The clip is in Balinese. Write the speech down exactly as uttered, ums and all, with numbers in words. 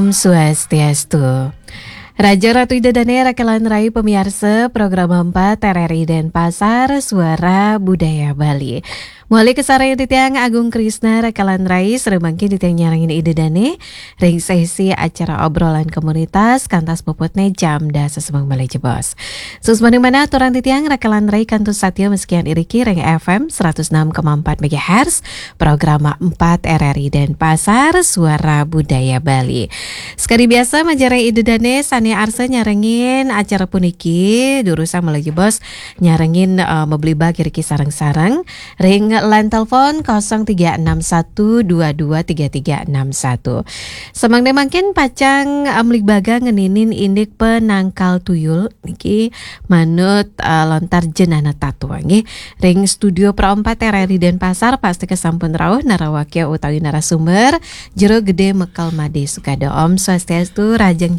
Om Swastiastu. Raja Ratu Ida Dane Rakelan Rai pemiarsa program empat R R I Denpasar Suara Budaya Bali. Muali kasarengin titiang Agung Krisna Rakelan Rai sareng mangkin titiang nyarengin Ida Dane ring sesi acara obrolan komunitas kantos puputne jam dasa semeng malih jebos. Suksmaning manah aturang titiang Rakelan Rai kantun satia masikian iriki ring F M seratus enam koma empat megahertz, program empat R R I Denpasar, Suara Budaya Bali. Sekadi biasa, majeng ring Ida Dane sane arsa nyarengin acara puniki, durusang malih jebos nyarengin, eh, mabligbaga iriki sareng-sareng ring line telepon kosong tiga enam satu dua dua tiga tiga enam satu. Samangda mangkin pacang, eh, mabligbaga ngeninin indik penangkal tuyul niki manut, eh, lontar jenana tatwa nggih. Ring studio Pro empat R R I Denpasar pastika sampun rauh narawakya utawi narasumber Jero Gede Mekel Made Sukada. Om Swastiastu, rahajeng Jero